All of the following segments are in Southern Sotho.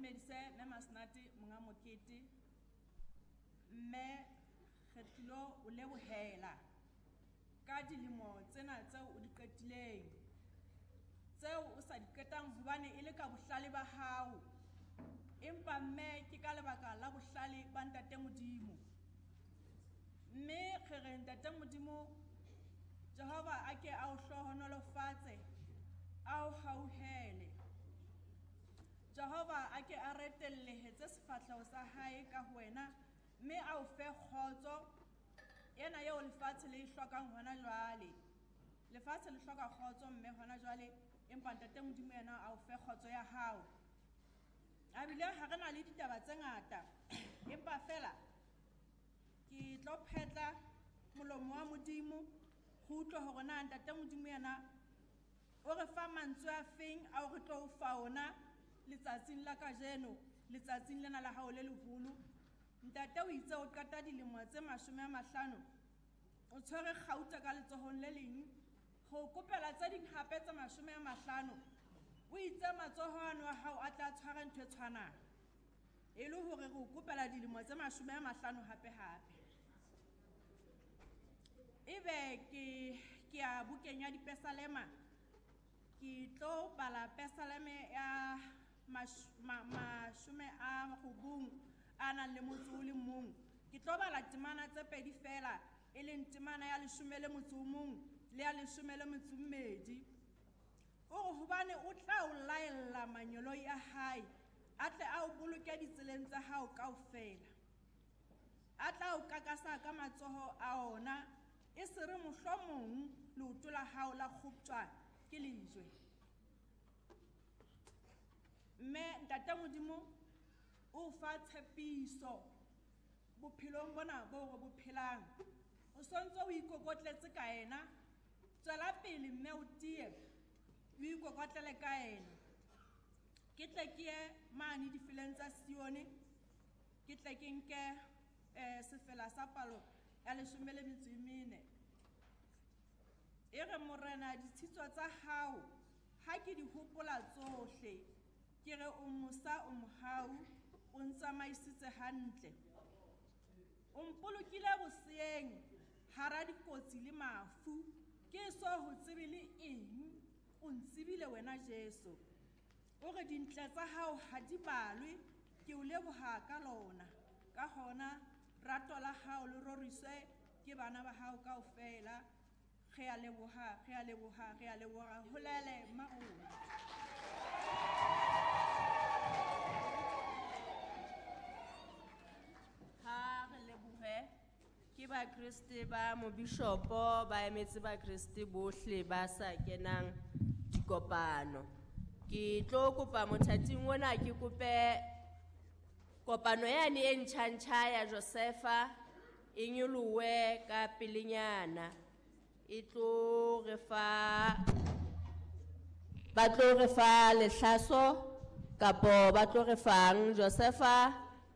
dumedise mme Masenate monga mokete. Mme re tlilo o lebohela ka dilemo tsena tseo o di qetileng, tseo o sa di qetang hobane e le ka bohlale ba hao, empa mme ke ka lebaka la bohlale ba Ntate Modimo. Mme re re Ntate Modimo Jehova a ke a o hlohonolofatse, a o hauhele. Jehova a ke a retellehetse sefahleho sa hae ka ho wena, mme a o fe kgotso ena eo lefatshe le e hlokang hona jwale. Lefatshe le hloka kgotso mme hona jwale, empa Ntate Modimo yena a o fe kgotso ya hao. A bile ha re na le ditaba tse ngata, empa fela ke tlo phetla molomo wa Modimo go utlwa hore na Ntate Modimo yena o re fa mantswe a feng ao re tlo o fa ona letsatsing la kajeno, letsatsing lena la hao le leholo. Ntate o itse o qeta dilemo tse 50, o tshwere kgauta ka letsohong le leng, ho kopela tse ding hape tse 50. O itse matsoho ano a hao a tla tshwara ntho e tshwanang, e le hore re o kopela dilemo tse 50 hape hape. Ebe ke ya bukeng ya Dipesalema, ke tlo bala Pesaleme ya 90 a nang le motso o le mong. Ke tlo bala temana tse pedi fela, e leng temana ya 11 le ya 12. O re hobane o tla o laella manyoloi a hae, a tle a o boloke ditseleng tsa hao kaofela. A tla o kakasa ka matsoho a ona, e se re mohlomong leoto la hao la kgoptjwa ke lejwe. Mme Ntate Modimo o fa tshepiso bophelong bona bo re bo phelang. O sontso o ikokotletse ka ena, tswela pele mme o tiye, o ikokotlele ka ena. Ke tle ke ye mane difeleng tsa Sione, ke tle ke nke sefela sa palo ya 14. E re Morena, ditshitso tsa hao ha ke di hopola tsohle, ke re o mosa, o mohau, o ntsamaisitse hantle. O mpolokile boseeng hara dikotsi le mafu, ke so ho tsebe le eng, o ntsebile wena Jesu. O re dintle tsa hao ha di balwe, ke o leboha ka lona. Ka hona rato la hao le roriswe ke bana ba hao kaofela. Re a leboha, re a leboha, re a leboha. Holele mmarona. Ha re lebohe ke Bakreste ba mobishopo, ba emetse Bakreste bohle ba sa kenang dikopano. Ke tlo kopa mothating ona, ke kope kopano yane e ntjha-ntjha ya Josefa e nyolohe ka pelenyana. E tlo re fa, ba tlo re fa lehlaso kapo ba tlo re fang Josefa.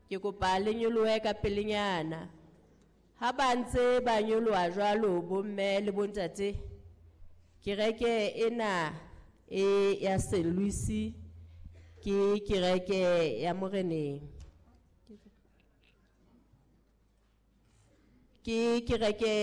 Ke kopa le nyolohe ka pelenyana. Ha ba ntse ba nyoloha jwalo bomme le bontate, kereke ena e ya Saint Louis ke kereke ya Moreneng. Ke kereke